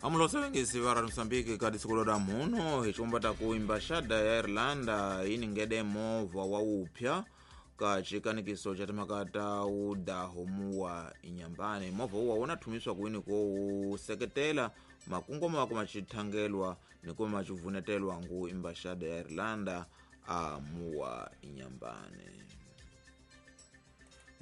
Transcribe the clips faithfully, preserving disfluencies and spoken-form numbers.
Amulosevengisi va ra Mozambique ka disikulo ra muno hi xikomba ta ku embaxada ya Irlanda yi ningede movha wa wupya ka xikanikiso xa timhaka ta wudaho muwa inyambane. Movha wuwa wu na thumiswa kwini ko wu seketela makungu ma kuma xithangelwa ni kuma xivunetelwa ngu embaxada ya Irlanda a muwa inyambane.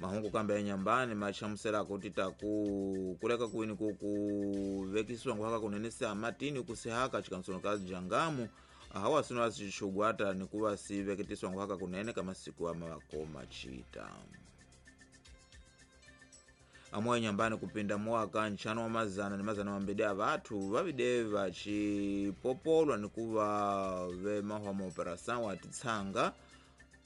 Mahungu kambe ya nyambani machamusela ku tita ku kuleka kwini ku ku vekisiwa nguhaka kunenesa matini kusihaka chikansono ka jangamu hawa sino asixugwata ni kuva si veketiswa nguhaka kunene ka masiku ama vakoma chita. Amoya nyambani kupinda mwaka nchano wa mazana ni mazana mambili ya vathu vavide vachipopolwa ni kuva ve mahwa maoperação wa titsanga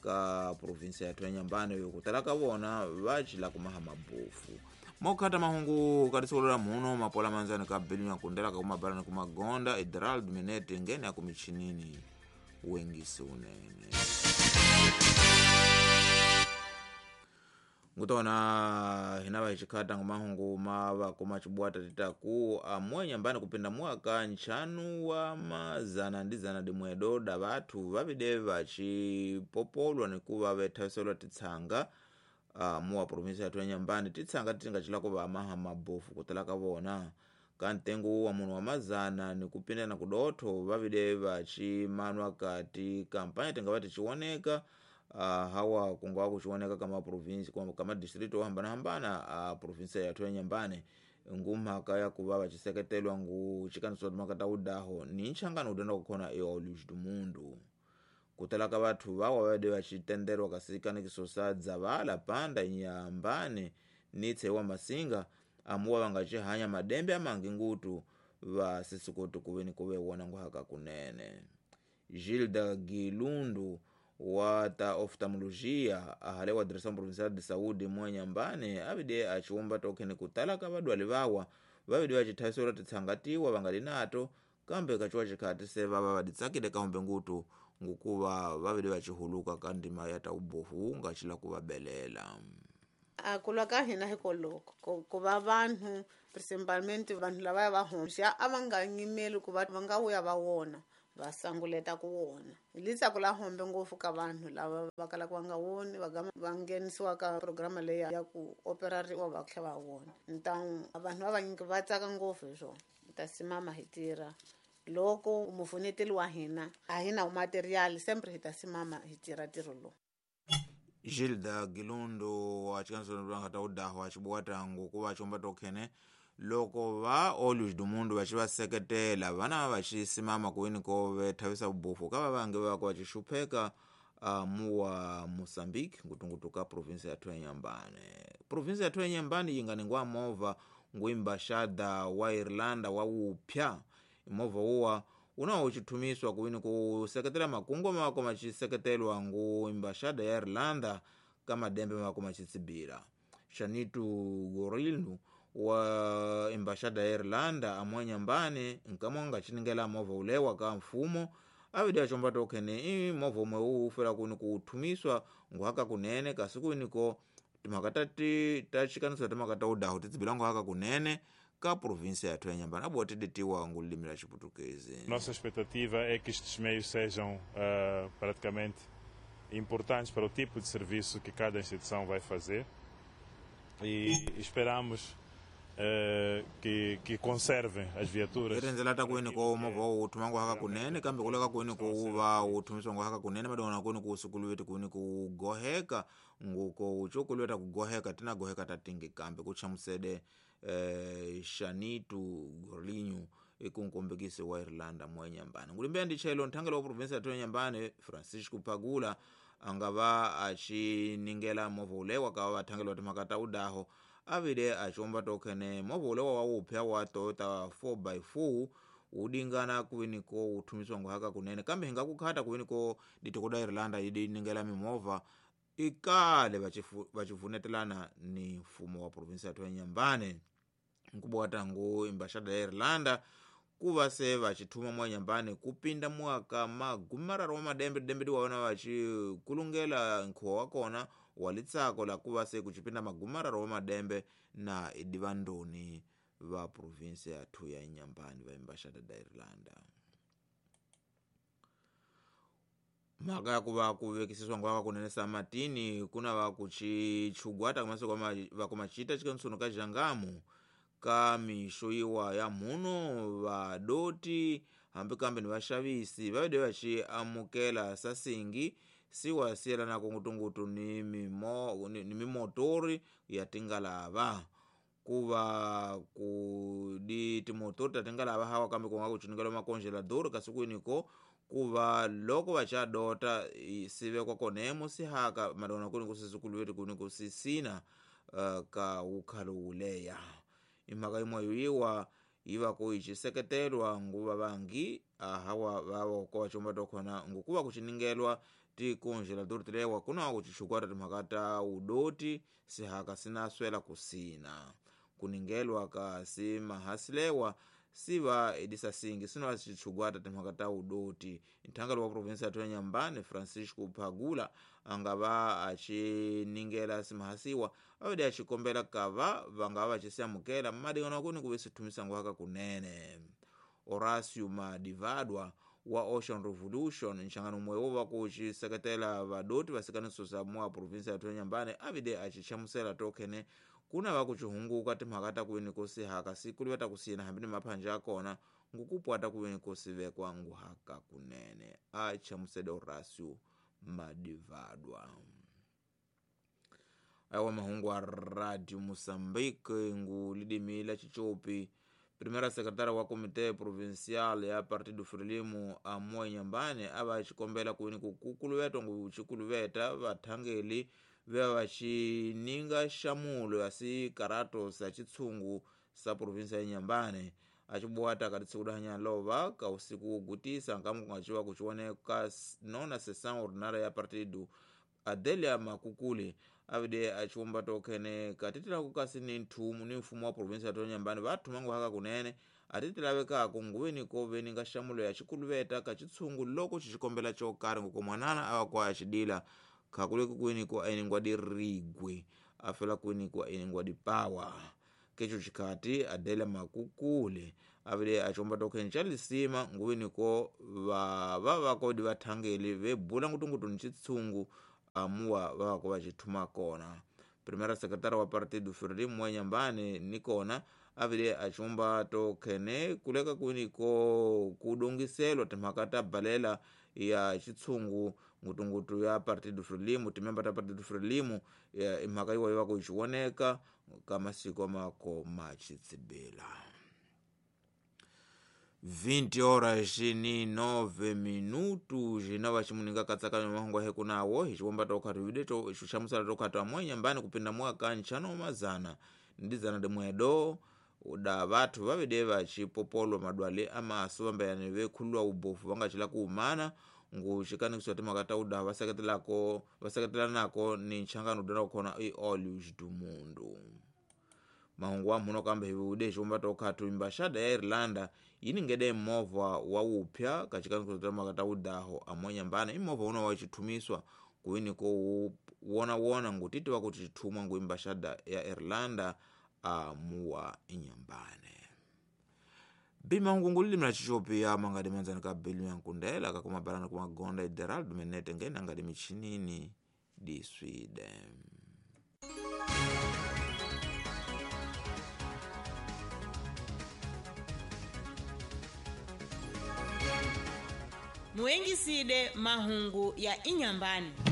ka provinsia ya Nyambane kutala ka vona vachila kumaha mabofu. Mokhata mahungu katisolola muno mapola manzani ka bilinya kundela ka kumabalani kumagonda Idrald Minete ngene akumichinini wengisi unene. Ngutona hinava hichikhata ngumahungu mava kumachibwata titaku amwe Nyambane kupinda mwaka nchanu wa mazana ndi zana dimwedo da vathu vavide vachipopolwa nikuva vethaviselwa titsanga uh, muwa provinsia yathu ya Nyambane titsanga titingachilako vamaha mabofu kutala ka vona ka ntengo wa munhu wa mazana ni kupinda na kudotho vavide vachimanwa kati kampanya tingava tichioneka. Uh, hawa kungawa kuchioneka kama provinsi kama distrito hambana hambana a uh, provinsia yathu ya Nyambane ngumhaka ya kuva vachiseketelwa ngu chikaniso makata udaho ni nchangano udenda kukhona eoluz do mundo kutala ka vathu vawa vade vachitenderwa kasikanikiso sa dzavala panda Nyambane ni tsewa masinga amuwa vangachihanya madembe amangi ngutu va sisikuti kuveni kuve wona nguhaka kunene. Gilda Gilundu wa ta oftalmologia ahale wa Direção Provincial de Saúde mwa Nyambane avide achiwomba tokhene kutala ka vadwali vawa vavide vachithavisela titsangatiwa vangali nato kambe kachiwa chikhati se vava vaditsakile kahombe ngutu ngukuva vavide vachihuluka ka ndima ya ta ubofu ungachila kuvabelela. A kulwa ka hina hikoloko ku va vanhu principalmente vanhu lava va homxa a va nga nyimeli ku va va nga vuya va wona va sanguleta ku wona. Litsako la hombe ngopfu ka vanhu lava va kalaka va nga woni va va nghenisiwa ka programa leyi ya ku operariwa va tlhela va wona. Ntan vanhu va vanyingi va tsaka ngopfu hi swona. Hi ta simama hi tirha loko mufuneteli wa hina a hi na material sempre hi ta simama hi tirha ntirho lowu. Gilda Gilundo wa chikanso lwanga ta udaho achibwata ngukuva chomba tokhene loko va Olhos do Mundo vachivaseketela vana vachisimama kuini ko vethavisa vubofu ka vavange vako vachixupheka uh, muwa Mozambique ngutungutu ka provinsia yathu ya Nyambane. Provinsia yathu ya Nyambane yi nga ningwa movha ngu embaxada wa Irlanda wa wupya movha wuwa unawo uchithumiswa kuini kuseketela makungu mako machiseketelwa ngu embaxada ya Irlanda ka madembe mako machitsibila. Shanitu Gorilnu wa embaxada ya Irlanda amwe Nyambane nkamwe nga movha ulewa ka mfumo avide achomba tokhene i movha umwe uwu ufela kuni kuthumiswa nguhaka kunene kasi kuiniko timhaka ta ti ta xikaniso timhaka ta udaho titsibila nguhaka kunene ka província yathu ya Nyambane abuwa tidetiwa ngulimi la Xiputukezi. Nossa expectativa é que estes meios sejam uh, praticamente importantes para o tipo de serviço que cada instituição vai fazer e esperamos Uh, que, que conservem as viaturas. Irendzela ta kwini ko movha wu thuma nguhaka kunene kambe kuleka kwini ko wu va wu thumiswa nguhaka kunene madona kwini ku sukuluweti kwini ku goheka nguko uchokulweta ku goheka tina goheka ta tingi kambe ku chamusede eh, Shanitu Gorlinyu ikunkombekisi wa Irlanda mwa Nyambane. Ngulimbe ndi chelo nthangelo wa provinsia ya Nyambane Francisco Pagula angava achiningela movha ulewa ka vathangelo wa timhaka ta udaho avide achomba tokhene movha ulewa wa wupya wa Toyota four by four udingana kuwiniko uthumiswa nguhaka kunene kambe hingakukhata kuwiniko ditoko da Irlanda idiningela mimovha ikale vachivunetelana ni mfumo wa provinsia ya Nyambane nkubwata ngu embaxada ya Irlanda kuva se vachithuma mwa Nyambane kupinda mwaka magumi mararu wa madembe dembe waona vachikulungela nkhuwa wa kona wa litsako la kuva se kuchipinda magumi mararu wa madembe na idivandoni va provinsi ya thu ya Inhambane va embaixada da Irlanda. Mhaka ya ku va ku vekisiswa ngwaka kunene Samatini kuna va ku chichugwata ka va ku machita chikansuno ka Jangamu ka mixo yiwa ya mhuno vadoti hambi kambe ni vaxavisi va vede va xi amukela sasingi siwa siyelanaka ngutungutu ni mimo ni, ni mimotori ya tingalava ku va ku di timotori ta tingalava hawa kambe ku nga ku chunikela makongelador kasi kwiniko ku va loko va cha dota sivekwa konemo sihaka madona kuni kusisikuluveti kuni kusisina uh, ka ukhalo wuleya imhaka yimwe yiwa yiva ku ichiseketelwa nguva vangi ahawa vavo ko vachomba tokhona ngukuva kuchiningelwa tikongelador tilewa kuna kuchichukwata timhaka ta udoti sihaka sinaswela kusina kuningelwa ka simahasilewa siva edisasingi sino sichugwata timhaka ta udoti nthangalo wa provinsi ya Inhambane Francisco Phagula angava achiningela simahasiwa avede achikombela kava vangava vachisiamukela madingano kuni kuve sithumisa ngwaka kunene. Horacio Madivadwa wa Ocean Revolution nxangano umwe wo va ku xiseketela vadoti vasikaniso mwa provinsi ya Inhambane avide achichamusela tokhene kuna va ku chihunguka timhaka ta kuveni ko sihaka siku ta kusina hambi ni maphanja ya kona ngukupwata kuveni ko sivekwa nguhaka kunene a chamusede Horacio Madivadwa. Awa mahungu a Radio Moçambique ngu lidimila chichopi primeira secretária wa Comité Provincial ya Partido Frelimo amoa Inhambane ava chikombela kuveni kukuluvetwa ngu chikuluveta vathangeli veva vachininga xamulo ya sikarato sa chitsungu sa provinsia ya Inhambane achibuwata kati tsiku dahanya lova ka usiku wogutisa nkamu kungaciwa kuchiwoneka nona sessão ordinária ya partido Adelia Makukuli avide achiwomba tokhene katitila kasi ni nthumu ni mfumo wa provinsia ya Inhambane vathumangu haka kunene atitilavekako nguveni ko veninga xamulo ya chikuluveta ka chitsungu loko xichikombela chokarhi ngukomwanana ava kwa axidila khakuleki kwini ko ainingwa dirigwe afela kwini ko ainingwa dipawa kecho chikhati Adela Makukule avile achomba tokhene cha lisima nguveni ko va va vakodi vathangeli vebula ngutungutu ni chitsungu amuwa vavako vachithuma kona. Primeira secretária wa Partido Frelimo wa Inhambane nikona avile achomba tokhene kuleka kwini ko kudongiselwa timhaka ta balela ya chitsungu ngutungutu ya Partido Frelimo timemba ta Partido Frelimo imhaka yiwa yiva ku xiwoneka ka masiku mako machitsibila. vinte horas ni nove minutos xinova ximuninga katsakanyo mahungu ahe kunawo hi xiwomba tokhatu videto xixamusela tokhatu amwe Inhambane kupinda mwaka nxano mazana ndizana dimwedo da vathu vavide vachipopolwa madwale amaso vambayani vekhululwa ubofu vangachila kuhumana ngu xikanikiswa timhaka ta uda vaseketelako vaseketelanako ni nxangano udana kukhona i Olhos do Mundo. Mahungu wa mhuno kambe hivude xiwomba tokhatu embaixada ya Irlanda yi ningede movha wa wupya ka xikanikiswa timhaka ta udaho amwe Inhambane i movha una wa xithumiswa kuini ko wona wona ngu titiwa kuti xithumwa ngu embaixada ya Irlanda amuwa Inhambane. Bimahungu lilimi la chichopi ya mangadi manzani ka belu ya nkundela kakumabalana kumagonda Ideraldo Menete ngene angadi michinini di Sweden. Muengiside mahungu ya Inhambane.